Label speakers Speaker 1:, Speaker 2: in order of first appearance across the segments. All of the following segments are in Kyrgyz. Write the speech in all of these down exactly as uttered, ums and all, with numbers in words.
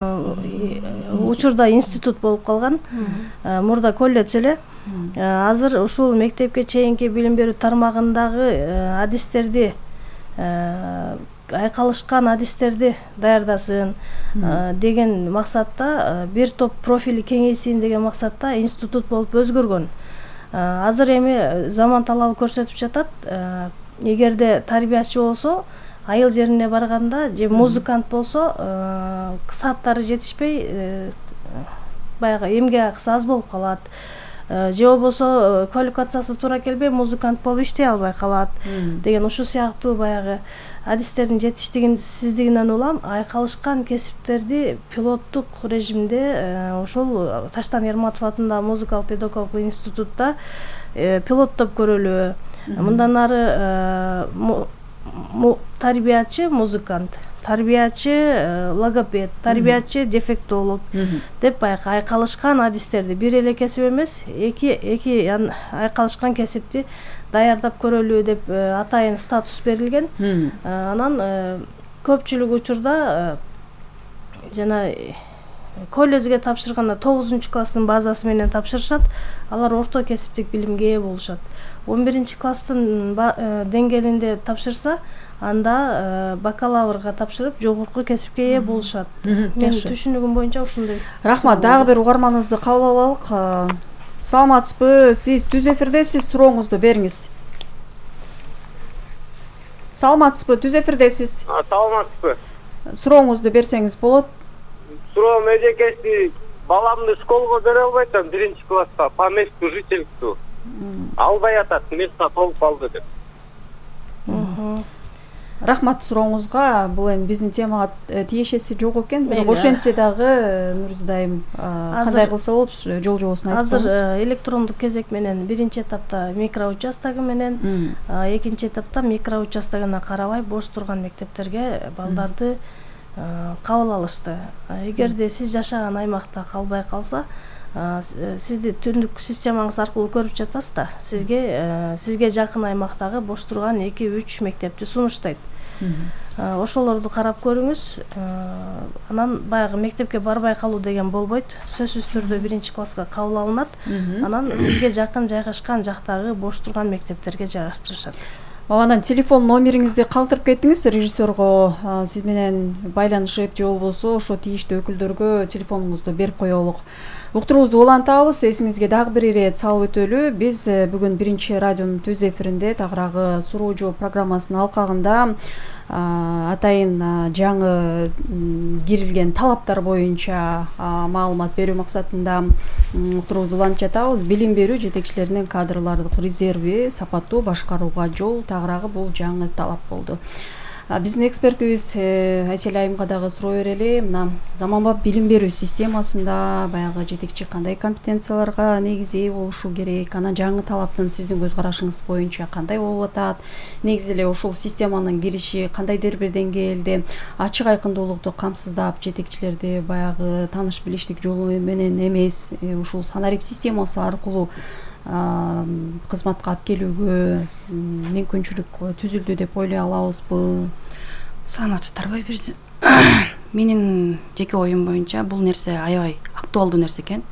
Speaker 1: учурда институт болуп калган. Мурда колледж эле. Азыр ушул мектепке чейинки билим берүү тармагындагы адистерди, айкалышкан адистерди даярдасын деген максатта, бир топ профили кеңейсин деген максатта институт болуп өзгөргөн. Азыр эми заман талабы көрсөтүп жатат, эгерде тарбиячы болсо, айыл жерине барганда же музыкант болсо, сааттары жетишпей, баягы эмгек акысы аз болуп калат. Же болбосо квалификациясы туура келбей, музыкант болуп иштей албай калат деген ушул сыяктуу баягы адистердин жетишсиздигинен улам айкалышкан кесиптерди пилоттук режимде ушул Таштан Ерматов атындагы музыкалык педагогикалык институтта пилоттоп көрөлү. Мындан ары тарбиячы музыкант, тарбиячы логопед, тарбиячы дефектолог деп баягы айкалышкан адистерди, бир эле кесип эмес, эки эки айкалышкан кесипти даярдап көрөлү деп атайын статус берилген. Анан көпчүлүк учурда жана колледжге тапшырганда тогузунчу класстын базасы менен тапшырышат, алар орто кесиптик билимге ээ болушат. он биринчи класстын деңгээлинде тапшырса, анда бакалаврга тапшырып, жогорку кесипке ээ болушат. Мен түшүнүгүм боюнча ушундай.
Speaker 2: Рахмат, дагы бир угарманыбызды кабыл алалык. Саламатсызбы? Сиз түз эфирдесиз, сурооңузду бериңиз. Саламатсызбы? Түз эфирдесиз.
Speaker 3: Саламатсызбы?
Speaker 2: Сурооңузду берсеңиз болот.
Speaker 3: Суроом эжекеси, баламды школго бере албайт атам, биринчи класска, по месту жительству. Албай атат, места толуп калды деп.
Speaker 2: Рахмат сурооңузга. Бул эми биздин темага тиешеси жок экен. Бирок ошентсе дагы Нурзуда айым кандай кылса болот, жол жобосун айтсаңыз.
Speaker 1: Азыр электрондук кезек менен биринчи этапта микроучастогу менен, экинчи этапта микроучастогуна карабай бош турган мектептерге балдарды кабыл алышты. Эгерде сиз жашаган аймакта калбай калса, сизди түндүк системаңыз аркылуу көрүп жатасыз да, сизге сизге жакын аймактагы бош турган эки үч мектепти сунуштайт. Ошолорду карап көрүңүз. Анан баягы мектепке барбай калуу деген болбойт. Сөзсүз түрдө биринчи класска кабыл алынат. Анан сизге жакын жайгашкан жактагы бош турган мектептерге жайгаштырышат.
Speaker 2: Анан телефон номериңизди калтырып кеттиңиз, режиссерго сиз менен байланышып, же болбосо ошо тийиштүү өкүлдөргө телефонуңузду берип коелук. Уктуруубузду улантабыз. Эсиңизге дагы бир ирет салып өтөлү. Биз бүгүн биринчи радионун түз эфиринде тагыраагы суроо жооп программасынын алкагында атайын жаңы кирилген талаптар боюнча маалымат берүү максатында уктуруубузду улантып жатабыз. Билим берүү жетекчилеринин кадрлардык резерви сапаттуу башкарууга жол тагыраагы бул жаңы талап болду. Биздин экспертибиз Айсель айымга дагы суроо берели. Мына заманбап билим берүү системасында баягы жетекчи кандай компетенцияларга негизи ээ болушу керек? Анан жаңы талаптын сиздин көз карашыңыз боюнча кандай болуп атат? Негизи эле ушул системанын кириши кандайдыр бир деңгээлде ачык айкындуулукту камсыздап, жетекчилерди баягы тааныш билиштик жолу менен эмес, ушул санарип системасы аркылуу кызматка алып келүүгө мүмкүнчүлүк түзүлдү деп ойлой алабызбы?
Speaker 4: Саламатсыздарбы? Менин жеке оюм боюнча бул нерсе аябай актуалдуу нерсе экен.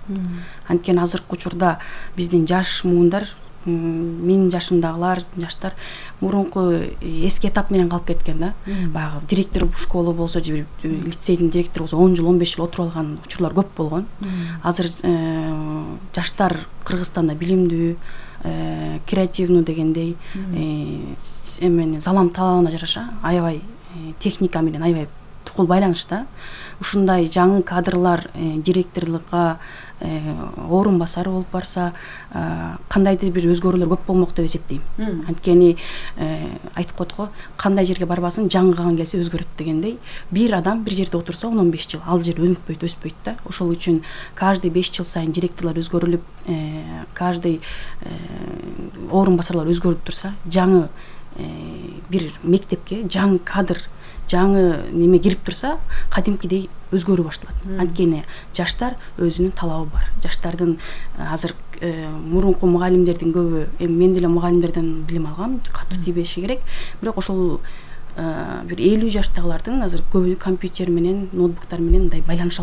Speaker 4: Анткени азыркы учурда биздин жаш муундар, менин жашымдагылар, жаштар мурунку эски этап менен калып кеткен да. Баягы директор школы болсо же лицейдин директору болсо он жыл, он беш жыл отуруп алган учурлар көп болгон. Азыр жаштар Кыргызстанда билимдүү, креативнуу дегендей, эмени залам талабына жараша аябай техника менен аябай тукул байланышта. Ушундай жаңы кадрлар директорлукка орун басар болуп барса, кандайдыр бир өзгөрүүлөр көп болмок деп эсептейм. Анткени айтып коет го, кандай жерге барбасын жаңыган келсе өзгөрөт дегендей, бир адам бир жерде отурса он он беш жыл ал жер өнүкпөйт, өспөйт да. Ошол үчүн каждый беш жыл сайын директорлор өзгөрүлүп, каждый орун басарлар өзгөрүп турса, жаңы бир мектепке жаңы кадр, жаңы неме кирип турса, кадимкидей өзгөрүү башталат. Анткени жаштар өзүнүн талабы бар. Жаштардын азыр мурунку мугалимдердин көбү, эми мен деле мугалимдерден билим алгам, катуу тийбеши керек. Бирок ошол бир элүү жаштагылардын азыр көбү компьютер менен ноутбуктар менен мындай байланыша